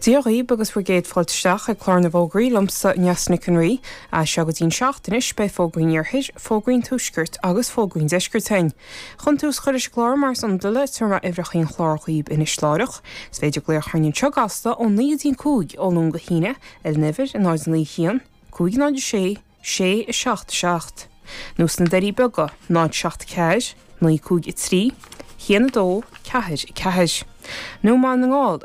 Dia dhaoib agus bhur gcéad fáilte isteach ag Clár na bhFógraí liomsa, Neasa Nic an Rí. As seo go dtí an seacht anois beidh Fógraí an Iarthair, Fógraí an Tuaiscirt agus Fógraí an Deiscirt againn. Chun tús a chur leis an gclár mar is iondúil tabharfaidh mé uimhreacha an chláir dhaoib anois láithreach. Is féidir glaoch orainn anseo gasta ó 9 go dtí an 5 ó Luan go hAoine ar an uimhir 0 9 1 5 0 6 6 7 7 nó sna Doirí Beaga 0 7 4 9 5 3 1 2 4 4 nó i mBaile na nGall.